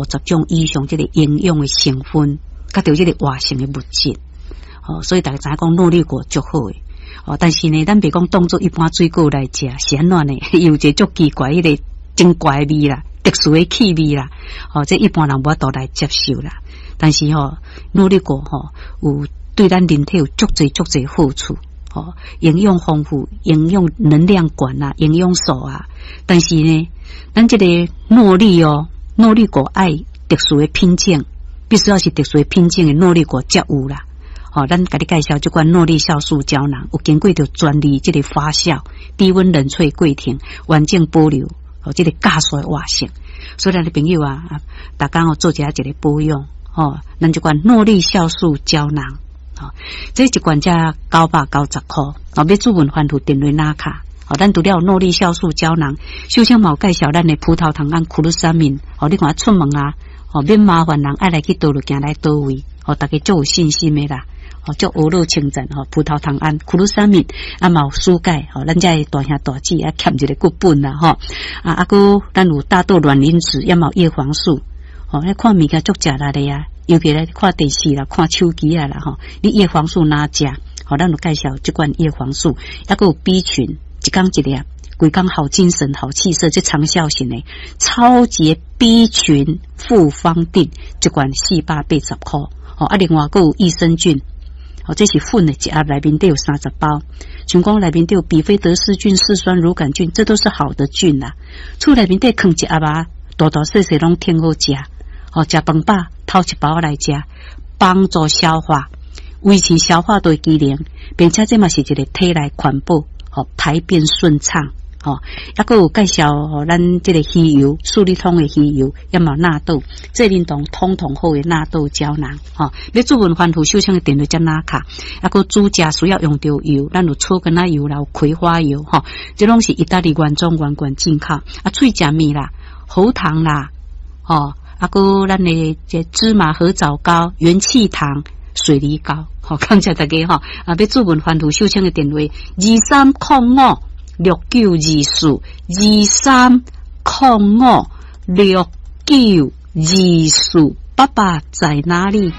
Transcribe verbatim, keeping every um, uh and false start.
十種以上這個營養的成分，佮著這個活性的物質。哦，所以大家知影講諾麗果足好的。哦，但是呢，咱袂講當做一般水果來食，是按怎呢？有一個足奇怪，彼個真怪味啦，特殊的氣味啦。哦，這一般人無法度來接受啦。但是吼，諾麗果吼有對咱人體有足濟足濟好處。吼，營養豐富，營養能量懸啊，營養素啊。但是呢，咱這個諾麗哦，諾麗果愛特殊的品種，必須要是特殊的品種的諾麗果才有啦。吼，咱共你介紹這款諾麗酵素膠囊，有經過著專利這個發酵、低溫冷萃過程，完整保留哦，這個酵素的活性。所以咱的朋友啊，逐工哦做一下這個保養，吼，咱這款諾麗酵素膠囊。吼，這一罐才九百九十箍，哦，欲主問番號電話拿卡，哦，咱除了諾麗酵素膠囊，首先嘛有介紹咱的葡萄糖胺、苦魯三敏，哦，你看出門啊，哦，免麻煩人愛來去佗落行來佗位，哦，大家足有信心的啦，哦，足嚵樂稱讚，吼，葡萄糖胺、苦魯三敏，啊，嘛有舒鈣，吼，咱遮的大兄大姊啊，欠一个骨本啦，吼，啊，啊，閣咱有大豆卵磷脂，也嘛有葉黃素，吼，彼看物件足食力的啊。尤其咧看電視啦、看手機啊啦吼，你葉黃素若食？吼，咱有介紹這款葉黃素，抑閣有 B 群，一工一粒，規工好精神、好氣色，這長效型的超級 B 群複方錠，一罐四百八十箍。吼，啊，另外閣有益生菌，吼，這是粉的，一盒內面底有三十包，像講內面底有比菲德氏菌、嗜酸乳桿菌，這都是好的菌啦。厝內面底囥一盒啊，大大細細攏挺好食。吼，食飯飽，偷一包來食，幫助消化，維持消化道機能，並且這嘛是一個體內環保，吼，排便順暢，吼，抑閣有介紹吼，咱這個魚油，四力通的魚油，也嘛納豆，這啉當通通好的納豆膠囊，吼，欲主問番號首先的電話才拿卡，抑閣煮食需要用著油，咱有草根仔油啦，有葵花油，吼，這攏是意大利原裝原罐進口，啊，喙食物啦，喉糖啦，吼。啊，閣咱的這芝麻褐藻膏、元氣糖、水梨膏，好，感謝大家吼。啊，欲主問番號秀清的電話：二三空五六九二四，二三空五六九二四。爸爸在哪裡？